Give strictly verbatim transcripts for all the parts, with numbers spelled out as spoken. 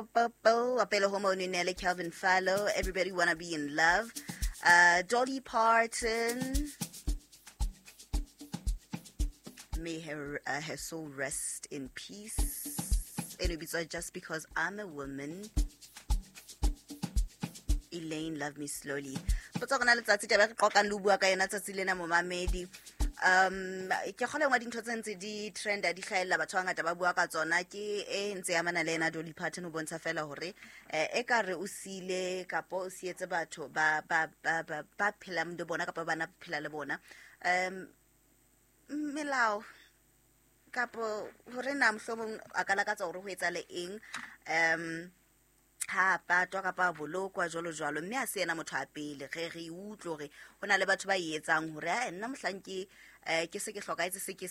Pele ho mono ne le Calvin Fallow, Everybody Wanna Be in Love. Uh, Dolly Parton, may her, uh, her soul rest in peace. Eno bitswa Just Because I'm a Woman. Elaine, Love Me Slowly. Potsa gona letsatsi taba re qoqang le bua ka yona tsatsi lena momamedi. Um ke kgole ngwa dintho tse ntse di trenda di hlahella batho ba ngata ba bua ka tsona ke e ntse ya mana le ena Dolly Parton o bontsha fela hore e ka re o sile kapo o sietse batho ba ba ba ba phelang le bona kapa bana phela le bona um melao kapo hore na mohlomong a ka lakatsa hore ho etsa le eng um ha patwa kapa bolokwa jwalo jwalo mme a se yena motho a pele re re utlwe hore hona le batho ba e etsang hore a nna mohlang ke eh ke se ke hlokaetse se ke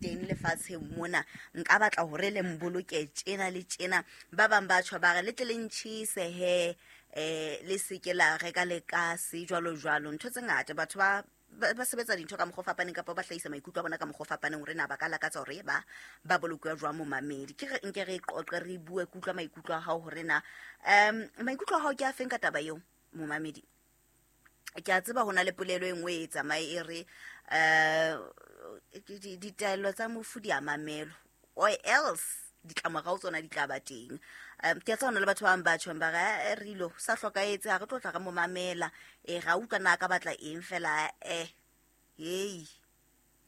teng lefatsheng mona nka batla hore le mboloke tjena le tjena ba bang ba tjho ba re le tle le ntjhise he eh le se ke la reka le kase jwalo jwalo ntho tse ngata batho ba ba sebetsa dintho ka mokgwa o fapaneng kapa ba hlahisa maikutlo a bona ka mokgwa o fapaneng hore na ba ka lakatsa hore ba ba bolokwe jwang momamedi ke re nke re qoqe re bue kutlwa maikutlo a hao hore na um maikutlo a hao ke a feng ka taba eo momamedi ke a tseba hona le polelo e nngwe e tsamaye e re eh ditaelo tsa mofu di a mamelo or else ditlamorao tsona di tla ba teng um ke a tseba hona le batho ba bang ba tjhong ba re re ilo sa hlokaetse ha re tlo tla re mo mamela e ra utlwa na ka batla eng fela eh hey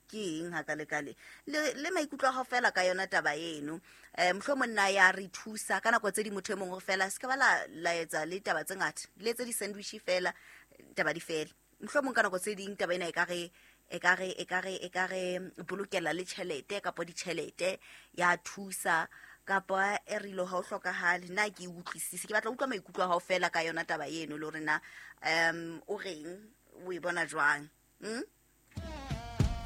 ke eng ha ka le kale le le maikutlo a hao fela ka yona taba eno eh mohlomong nna ya re thusa ka nako tse di motho e mongwe fela se ka ba la la etsa le taba tse ngata le etse di sandwich fela taba di fela mohlomong ka nako tse ding taba ena e ka re e ka re e ka re e ka re bolokela le tjhelete kapa ditjhelete ya thusa kapa e re lo ha o hlokahale nna ke utlwisise ke batla utlwa maikutlo a hao fela ka yona taba eno le hore na um o reng o e bona jwang mm?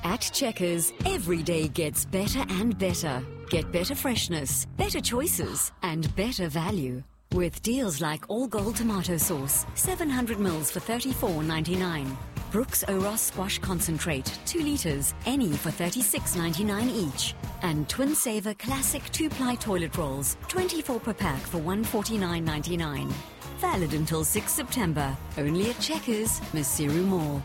At Checkers, every day gets better and better. Get better freshness, better choices, and better value. With deals like All Gold tomato sauce, seven hundred mils for thirty-four ninety-nine. Brooks Oros squash concentrate, two litres, any for thirty-six ninety-nine each. And Twin Saver classic two-ply toilet rolls, twenty-four per pack for one forty-nine ninety-nine. Valid until sixth September. Only at Checkers, Maseru Mall.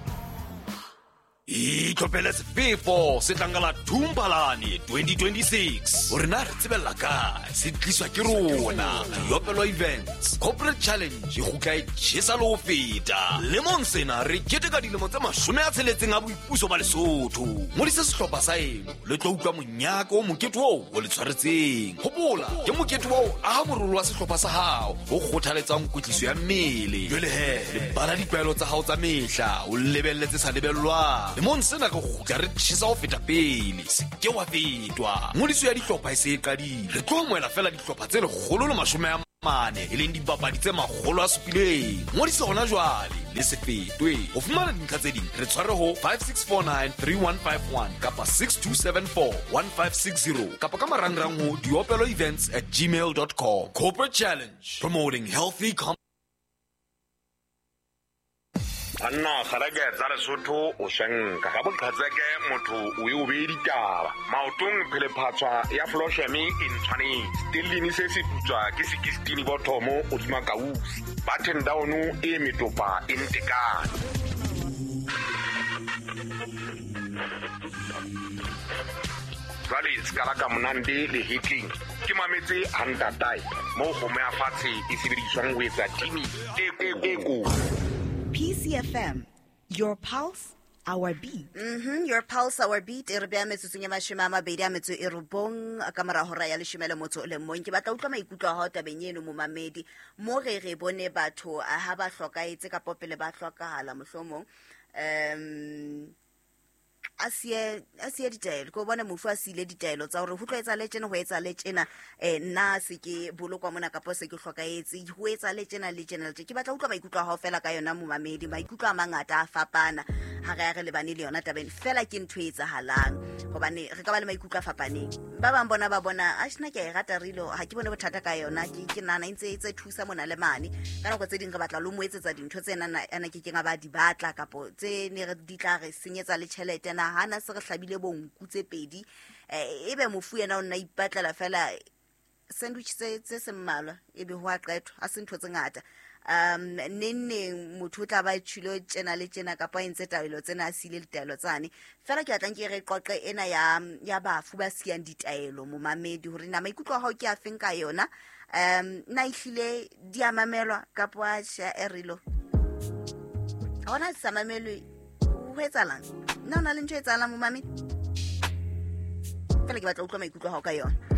Itlhophele sefefo se tlangala Thumpalane twenty twenty-six hore na re tsebella kae se tliswa ke rona Diopelo Events Corporate Challenge e kgutla e tjhesa le ho feta lemong sena re keteka dilemo tse mashome a tsheletseng a boipuso ba Lesotho ngodisa sehlopha sa eno le tlo utlwa monyaka o mokete oo o le tshwaretseng hopola ke mokete wa ho aha morolo wa sehlopha sa hao o kgothaletsang kwetliso ya mmele jwale he lebala ditlwaelo tsa hao tsa mehla o lebelletse sa lebellwang lemong sena re kgutla re tjhesa ho feta pele se ke wa fetwa ngodiso ya dihlopha e se e qadile re tlo amohela fela dihlopha tse lekgolo le mashome a mane e leng dipapadi tse makgolo a supileng ngodiso hona jwale le se fetwe ho fumana dintlha tse ding re tshware ho five six four nine three one five one kapa six two seven four one five six zero kapa ka marangrang ho diopelo events at gmail dot com. Corporate Challenge, promoting healthy com Anna kgareke tsa Lesotho o shenka ka boqhatseke motho o e o be ditaba maotong phelephatswa ya flosheme e ntshwanetse stellini se se putswa ke sixteen bothomo o dima kausi button down e metopa e ntekane jwale skala ka monande le hitling ke mametse hantatai mo go me a fatshe e sebediswang ho etsa timi e e ko P C F M, your pulse, our beat. Mm-hmm, your pulse, our beat. E re beha metsotsong e mashome a mabedi a metso e robong ka mora hora ya leshome le motso o le mong. Ke batla utlwa maikutlo a hao tabeng eno momamedi. Mo re re bone batho ha ba hlokaetse kapa pele ba hlokahala mohlomong. Um a siye a siye ditaelo ko bona mofu a siile ditaelo tsa hore ho tlo etsa le tjena ho etsa le tjena eh nna se ke bolokwa mona kapa se ke hlokaetse ho etsa le tjena le tjena le tjena ke batla utlwa maikutlo a hao fela ka yona momamedi maikutlo a mangata a fapana ha re ya re lebane le yona tabeng fela ke ntho e etsahalang hobane re ka ba le maikutlo a fapaneng ba bang bona ba bona a shina ke e rata rilo ha ke bone bothata ka yona ke ke nana ntse e tse thusa mona le mane ka nako tse ding re batla lo mo etsetsa dintho tse nana ana ke keng a ba di batla kapo tse ne re di tla re senyetsa le tjhelete na hana se re hlabile bonku tse pedi eh ebe mofu yena o nna ipatlela fela Sandwich tse tse se mmalwa ebe ho a qetwa, ha se ntho tse ngata. Um neng neng motho o tla ba tjhilo tjena le tjena kapa a entse taelo tsena, a siile ditaelo tsane. Fela ke batlang ke re qoqe ena ya ya bafu ba siyang ditaelo, momamedi, hore na maikutlo a hao ke a feng ka yona. Um na ehlile di a mamelwa kapa atjhe? E relo ha hona di sa mamelwe, ho etsahalang? Nna ho na le ntho e etsahalang, momamedi? Fela ke batla ho utlwa maikutlo a hao ka yona.